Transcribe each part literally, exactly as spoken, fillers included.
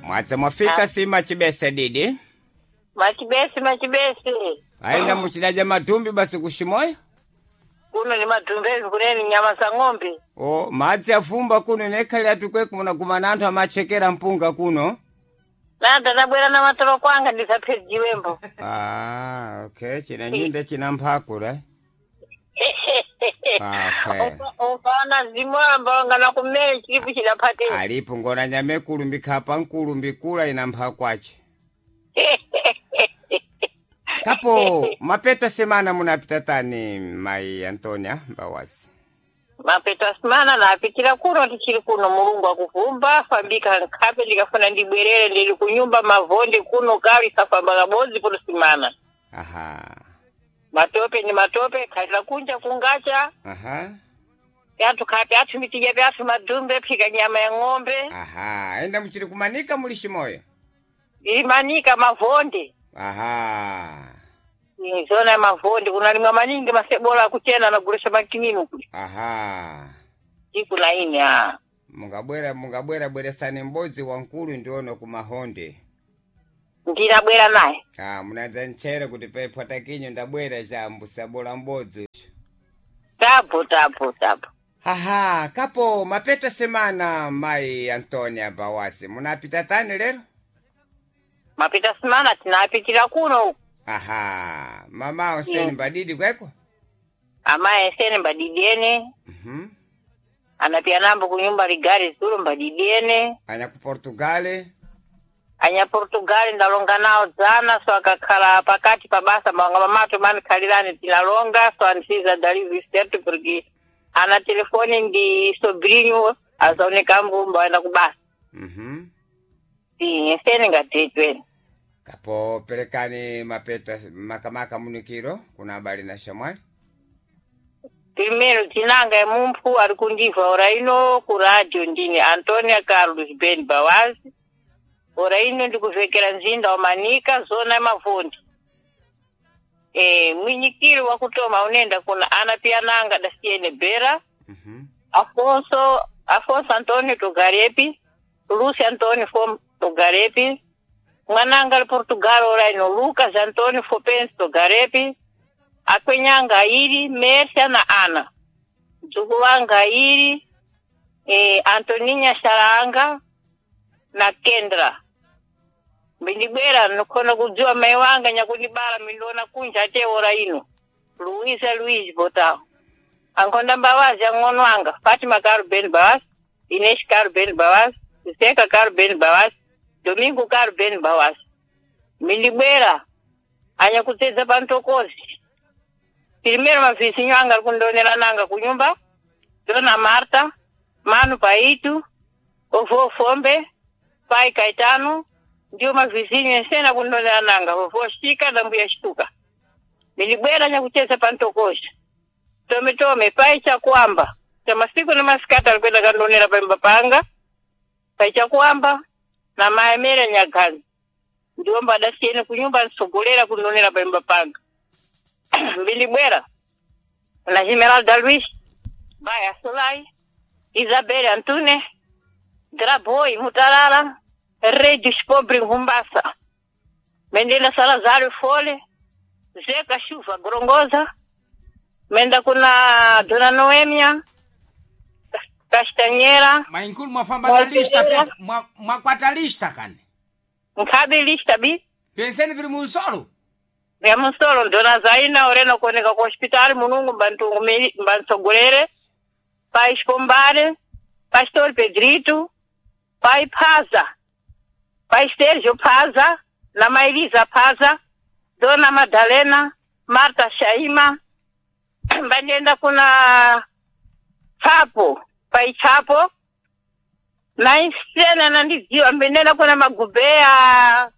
Mwadza mwafika si machibese didi. Machibesi machibesi. Aenda muchidaja matumbi basi kushimoyo. Kuno ni matumbezi kuneni nyama za ng'ombe. O madzi afumba kuno nekhale atukwe kuna kumana anthu amachekera mpunga kuno. Nanda nabwera na matolo kwanga ndisaphejiwembo. Ah, okay, china nyinda china mphakura. Okay. Ufana zimwamba ngana kumene chilipo chidapate. Alipo ngona nyame kulumbikha nkulu mbikula ina mphakwache. Kapo mapeta semana munapita tani mai Antonia Mbawasi. Mapeto asimana napitira kuno tichiri kuno mulungu akuvumba fambika nkhape ndikafuna ndibwerere ndili kunyumba mavonde kuno kali safamba kabodzi kuno simana. Aha. Matope ni matope khalira kunja kungacha. Aha. Pyathu khape athu mitija pyathu madumbe phika nyama ya ng'ombe. Aha, enda muchiri kumanika muli shimoyo. Imanika mavonde. Aha. Ni zona ya mavonde kunalimwa maningi masebola akuchena nagulisa makininu kuli. Aha. Siku na ine ah. Mungabwera mungabwera bweresani m'bodzi wankulu ndiono kumahonde. Ndinabwera naye. Ah, munadza nchere kuti pephwata kinyo ndabwera chambu sabola m'bodzi. Tapo tapo tapo. Haha, kapo mapeta semana mai Antonia Bawasi. Munapita tani lero? Mapita simana tinapitira kuno. Aha, mama oseni Mm. mbadidi kweko? Amaye sene mbadidiene. Mhm. Anapia nambo kunyumba ligari zulu mbadidiene. Anya ku Portugal. Anya Portugal ndalonga nawo dzana so akakhala pakati pa basa mawanga mamato mani khalirani tinalonga so ansiza dalivi certo porque ana telefone ndi sobrinho azaoneka mbumba waenda kubasa. Mhm. Sim, sene ngatechweni. Kapo perekani mapeta makamaka munikiro kuna habari na shamwali. Primeiro tinanga emumphu ari kundibva ora ino ku radio ndini Antonia Carlos Ben Bawazi. Ora ino ndikuvhekera nzinda wa Manika zona yamavhondi. E, mwinyikiri wakutoma unoenda kuna ana piananga dasiene Bera, Mhm. Afonso Afonso Antonio Togarepi, Lúcio Antonio Fom Togarepi, mwananga ali Portugal ora ino Lucas Antonio Fopense Togarepi, akwenyanga airi Mércia na Ana, mdzukulu wanga airi eh, Antoninha Sharanga na Kendra. Mbindibwera nokona kudziwa mai wanga nyakundibala mindiona kunja ate ora ino Luísa Luiz Botão. Ankonda Mbawazi ang'ono wanga Fatima Caro Ben Bawazi, Inês Caro Ben Bawazi, Zeca Caro Ben Bawazi, Domingo Caro Ben Bawazi. Mindibwera anyakudzedza pantokozi. Primeiro mavizinho anga ari kundonera nanga kunyumba, Dona Marta, Manu Paitu, Ovô Fombe, Pai Caetano, ndiwo mavizinho ensena kundonera nanga, vovô Chica da mbuya Chituka. Mindibwera nyakucheza pantokozi. Tome tome pai chakuamba cha masiku na masikati alikwenda kandonera pemba panga pai chakuamba na maemere nyagazi ndiwo mbadasiyene kunyumba nsogolera kundonera pemba panga mbilibwera na Esmeralda Luis Baya Solai Isabel Antune Draboy Mutalala Rei dos Pobres Rumbassa Mendela Salazar Fole Zeca Chuva Grongoza Menda kuna Dona Noêmia Castanheira Mainkulu mwafamba na lista pe mwa- mwakwata lista kani. Nkhabe lista bi Penseni vili munsolo. vya musolo Dona Zaina orena kuoneka ku hospitali mulungu mbantu- mbantsogolere pai Escombare Pastor Pedrito pai Phaza pai Sérgio Phaza na Maelisa Phaza Dona Madalena Marta Shaima mbandienda kuna Chapo pai Chapo na insena nandidziwa mbendenda kuna Magubeya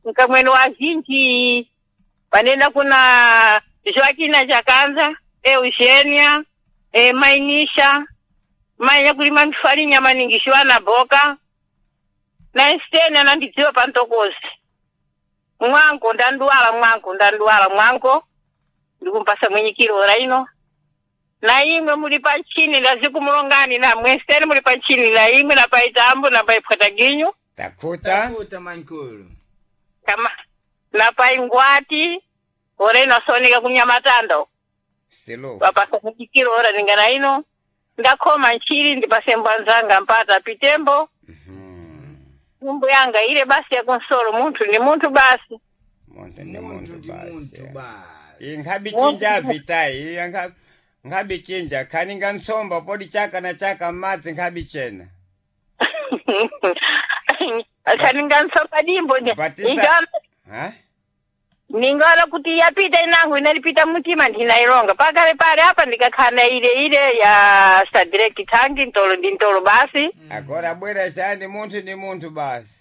nkamwene wa zhinji panenda kuna Joaquina Chakanza Eugenia e, Mainisha mainya kulima mifarinya maningi shiwana boka na insena nandidziwa pantokozi mwanko ndanduwala mwanko ndanduwala mwanko ndikumpasa mwenyikiro ora ino na imwe muli pantchini ndazikumulongani na mweseni muli pantchini na imwe na paitambo na paipwataginyu. Takuta. Takuta mankulu. Kama na pai Ngwati ora ino asonika kunyamatando. Silufu. Wapasanikiro ora ningana ino. Ndakhoma nchiri ndipasembo anzanga mpata pitembo. Mhm. Nyumbu yanga ile basi ya konsolo munthu ni munthu basi. Muntu ndi Muntu muntu ndi basi. muntu basi. Iyi nkhabi chinja vitai. Iyi nkha- nkhabi chinja khaninga nsomba podi chaka na chaka m'madzi nkhabi chena. Kaninga nsomba dimbo nje. Batisa- Ingawa Ha? ningaona kuti yapita inangu inalipita mutima ndinailonga pakale pale apa ndikakhana ile ile ya sadireki tangi ntolo ndi ntolo basi Agora bwera chani munthu ndi munthu basi.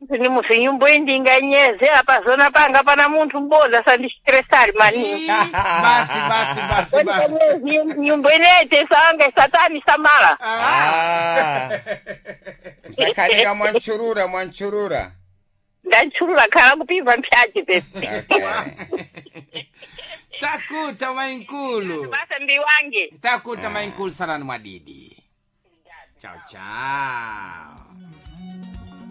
ni munthu nyumbu iyi ndinganyeze apa zona panga pana munthu m'bodzi asandistresali mani Basi basi basi basi. nyumbu inete sanga satani samala Ah. Msakhaninga mwanchurura mwanchurura. ndanchulula khala kupimva mpyaji pesi Okay. Takuta mainkulu. basa ndi wange Takuta mainkulu sarani mwadidi. Chao chao.